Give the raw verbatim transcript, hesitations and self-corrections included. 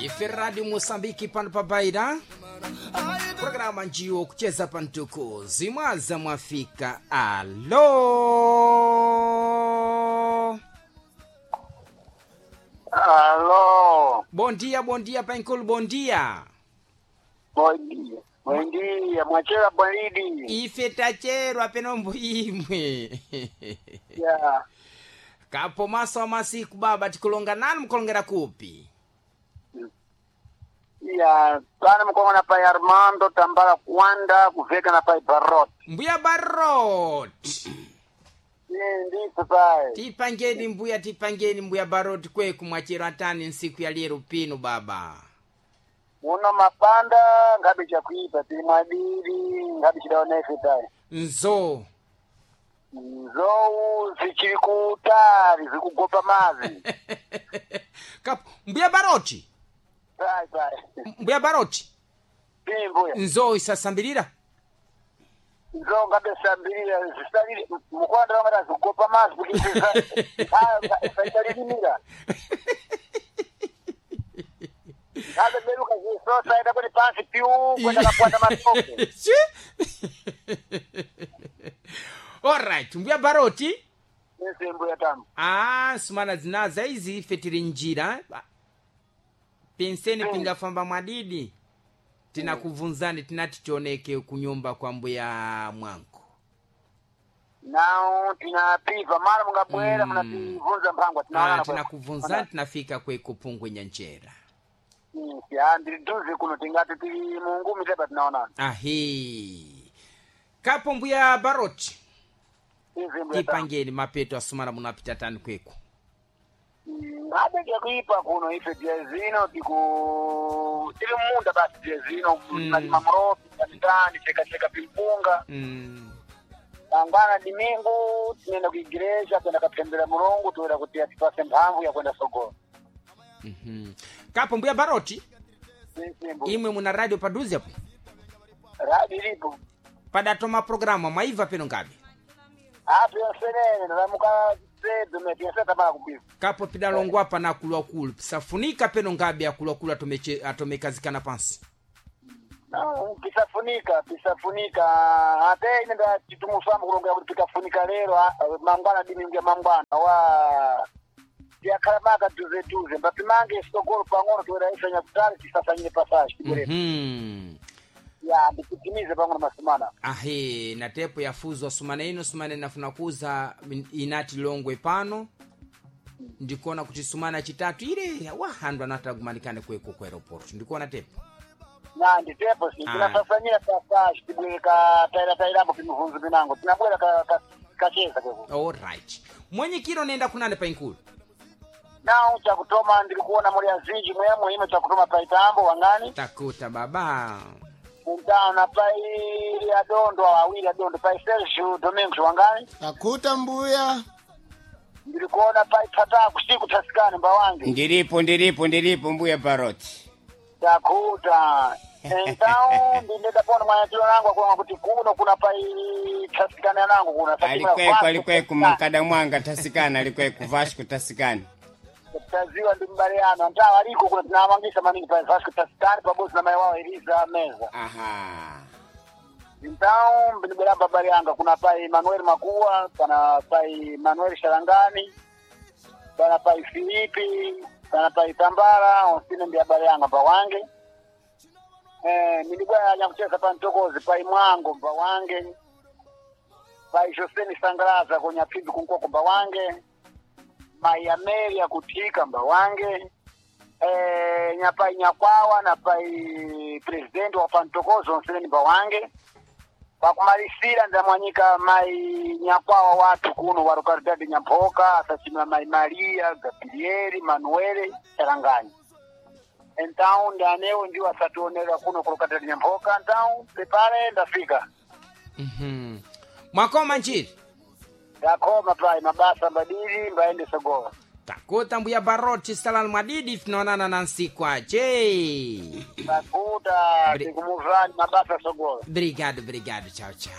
Ife Radio Mosambiki pano pa Baira, programa njiwo kucheza pa mtukuzi zimwaza mwafika. Alo, Alô, bom dia, bom dia painkulu, bom dia. bom dia. Bom dia, mwachera bwalidi. Ife tacherwa penombo imwe. Ya, Kapo maso wa masiku baba, tikulonga nani, mkulongera kupi? ya, pana mukongona pai Armando Tambala Kwanda kuveka na pai Barot. Mbuya Barot, Ndiso pai. tipangeni mbuya, tipangeni mbuya Barot kweku mwachero atani nsiku ya lero pino baba. Uno mapanda ngabe chakuipa tili mwadidi ngabe chidaona ife pai. Nzo Nzou zichiri kutali zikugopa mazi. Kapo mbuya Baroti, Pai pai. mbuya Baroti, Ii mbuya. nzo isasambilira Nzou ngabe sambilira zisalire mukwanda wangati zikugopa mazi kuti zisailimira. Ngabe beruka zisosa enda kuti pansi piu kwenda kakwata matope. Chi? Alright, mbuya Baroti. Ese mbuya tamu. Ah, sumana zinaza izi ife tili njira penseni pingafamba mwadidi tinakubvunzani tinati tioneke kunyumba kwa mbuya mwangu. Nao tinapiva mara mungabwera munativunza mphangwa Ah, tinaonana tinakubvunzani tinafika kweku pungwe nyanjera. Ya ndiri duze kuno tingati tili mungumi tepa tinaonana. Ahi, kapo mbuya Baroti, Izi mbuya tamu. tipangeni mapeto asumana munapita tani kweku. Ngabe chakuipa kuno ife tiye zino tiku tili munda basi tiye zino Mm. nalima murofi katitani cheka cheka pimpunga mm. mangwana dimingu tinenda kuigireja kwenda kapembera mulungu toera kuti atipase mphamvu ya kwenda sogolo. mm kapo mbuya Baroti, Isi mbuya. imwe muna radio paduze apo Radi ilipo. padatoma programa mwaibva peno ngabe? Apo yosenene ndamuka sedu meti yoseta mara kupiva. Kapo pidalongwa pana akuluakulu pisafunika peno ngabe akuluakulu atomeche- atomekazikana pansi. No, pisafunika pisafunika ate ine ndachitumusamba kulongera kuti pikafunika lero ah, mangwana dimingu ya mangwana wa tiyakhala maka duze duze mbapimange sogolo pang'ono toera ifenya kutali tisasanyire pasashi tibwerere. mm Ya ndikutimize pang'ono masumana. Ahe, na tepo yafuzwa sumana ino sumana inafuna kuza inati longwe pano ndikuona kuti sumana chitatu ile wahandu anatagumanikane kweko ku aeroport ndikuona tepo. Na nditepo si Ah. tinasasanyira pasashi tibwere ka taira tairambo pimivunzu pinango tinabwera ka- ka- kacheza kweku. Alright, mwenyikiro nenda kunane painkulu. Nao chakutoma ndiri kuona muli azinji mwemwe ino chakutoma paitambo wangani. Takuta baba. Mtana pai adondo awiri adondo pai Sergio Domingos wangani. Takuta mbuya. Ndiri kuona pai tata kusiku tasikani mbawange. Ndiripo, ndiripo, ndiripo mbuya Baroti. Takuta então ndineda pona mwanyatiro nangu akuona kuti kuno kuna pai tasikani anangu kuna Alikweku, alikweku mankada mwanga tasikana, alikweku Vasco tasikana. Taziwa ndi mbale yanu antawa aliko kuna tinawamangisa maningi pai Vasco tasikani pabosi na mai wao Elisa Meza. Aha. Então ndibweramba bale yanga kuna pai Manuel Makua pana pai Manuel Sharangani pana pai Filipi pana pai Tambara onsine ndi abale yanga pawange. Eh, nilibwera nyakucheza pa Mtokozi pai Mwango mbawange pai Joseni Sangalaza konya pimbi kunkoko mbawange mai Amelia kutika mbawange eh, nyapai Nyakwawa na pai president wa pantokozo onsene ni mbawange pakumalisira ndamwanyika mai Nyakwawa watu kuno wa Localidade Nyamphoka asachimira mai Maria Gabrieli Manuele Charangani. Então ndanewo ndiwo asationera kuno ku Localidade Nyamphoka. Então prepare ndafika. mm mwakoma njiri. Ndakoma pai mabasa mbadili mbaende sogolo. Takuta mbuya Baroti, salani mwadidi tinaonana na nsiku ache. Takuta Bri- tikumuvani mabasa sogolo. Brigado, brigado, tchau, tchau.